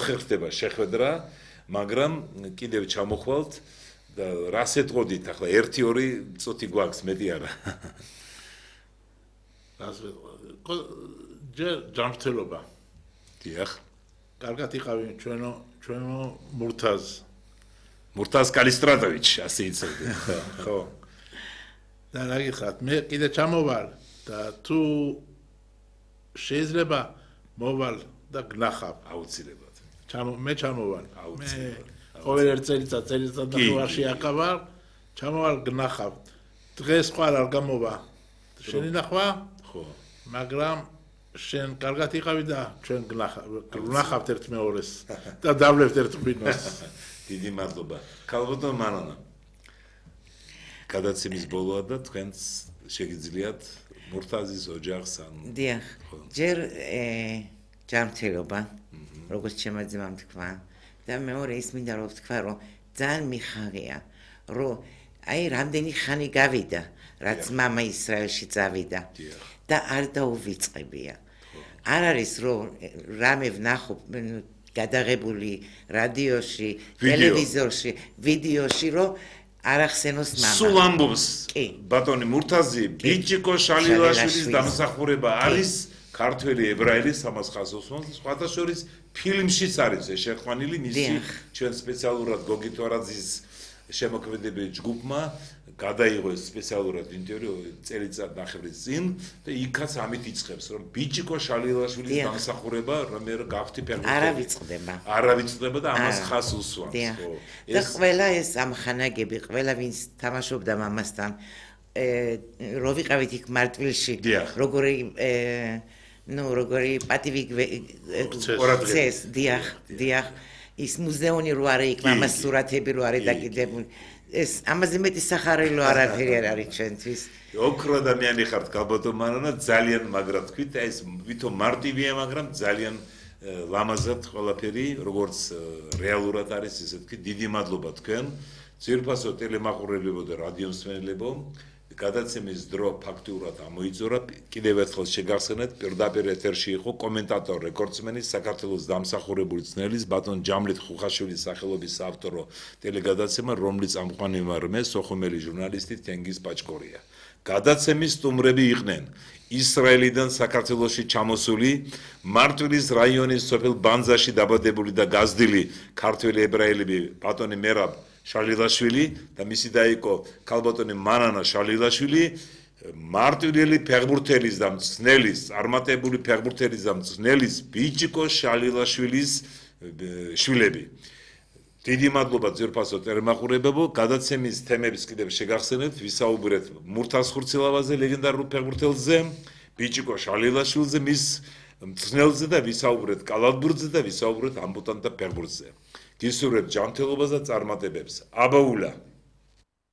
ოთხი ხდება შეხვედრა, მაგრამ კიდევ ჩამოხვალთ და რას ეტყოდით ახლა 1-2 წუთი გვაქვს, მეტი არა. ჯერ ჯანმრთელობა. დიახ. კარგად იყავი ჩვენო მურთაზ კალისტრატოვიჩი, ასე იცოდი. ხო. და რა გიხართ, მე კიდე ჩამოვალ და თუ შეიძლება მოვალ და გნახავ. აუცილებლად. მე ჩამოვალ. აუცილებლად. ყოველ ერთ წელიწად და უარში აკავარ, ჩამოვალ გნახავ. დღეს ხარ არ გამოვა. შენი ნახვა? ხო. მაგრამ შენ კარგად იყავი და ჩვენ გნახავთ ერთ მეორეს და დავლევთ ერთ ღვინოს. დიდი მადლობა. ქალბატონ მანანა. გადაცემის ბოლოა და თქვენს შეგიძლიათ მურთაზის ოჯახს ან დიახ. ჯერ ჯანმრთელობა, როგორც ჩემმა ძმამ თქვა და მეორე ის მინდა რომ ვთქვა, რომ ძალიან მიხარია, რომ აი რამდენი ხანი გავიდა, რაც მამა ისრაელში წავიდა და არ დაუვიწყებია. არ არის რომ რამე ვნახო გადაღებული რადიოში, ტელევიზორში, ვიდეოში, რომ არ ახსენოს მამა. სულ ამბობს ბატონი მურთაზი, ბიჭიკო შალილაშვილის დამსახურება არის ქართველი ებრაელი სამას ხაზოსმოს, სხვათა შორის ფილმშიც არის ეს შეხვანილი მისი ჩვენ სპეციალურად გოგი თორაძის შემოქმედებელი ჯგუფმა გადაიღო ეს სპეციალურად ინტერვიუ წელიწად ნახევრის წინ და იქაც ამით იწყებს რომ ბიჭიკო შალილაშვილის დამსახურება რომ გავხდი ფერმენტი არ ავიწყდება და ამას ხას უსვამს ხო და ყველა ეს ამხანაგები ყველა ვინც თამაშობდა მამასთან რო ვიყავით იქ მარტვილში როგორი პატივი წეს დიახ ის მუზეუმი რო არის იქ მამას სურათები რო არის დაკიდებული ეს ამაზე მეტი სახარელო არაფერი არ არის ჩვენთვის ოქრო ადამიანი ხართ ქალბატონ მანანა ძალიან მაგრა თქვით ეს ვითომ მარტივია მაგრამ ძალიან ლამაზად ყველაფერი როგორც რეალურად არის ესე თქვი დიდი მადლობა თქვენ ძირფასო ტელემაყურებლებო და რადიომსმენელებო გადაცემის დრო ფაქტიურად ამოიწურა კიდევ ერთხელ შეგახსენეთ პირდაპირ ეთერში იყო კომენტატორ რეკორდსმენის საქართველოს დამსახურებული ძნელის ბატონ ჯამლით ხუხაშვილის სახელობის ავტორო ტელეგადაცემა რომლის ამყვანი ვარ მე სოხუმელი ჟურნალისტი თენგიზ პაჭკორია გადაცემის სტუმრები იყვნენ ისრაელიდან საქართველოში ჩამოსული მარტვილის რაიონის სოფელ ბანძაში დაბადებული და გაზრდილი ქართველი ებრაელები ბატონი მერაბ შალილაშვილი და მისი და იყო ქალბატონი მანანა შალილაშვილი მარტვილელი ფეხბურთელის და მწნელის წარმატებული ფეხბურთელის და მწნელის ბიჭიკო შალილაშვილის შვილები დიდი მადლობა ძვირფასო ტელემაყურებლებო გადაცემის თემებს კიდევ შეგახსენებთ ვისაუბრეთ მურთაზ ხურცილავაზე ლეგენდარულ ფეხბურთელზე ბიჭიკო შალილაშვილზე მის მწნელზე და ვისაუბრეთ კალათბურთზე და ვისაუბრეთ ამბუტანტთა ფეხბურთზე გისურვებთ ჯანმრთელობას და წარმატებებს აბაულა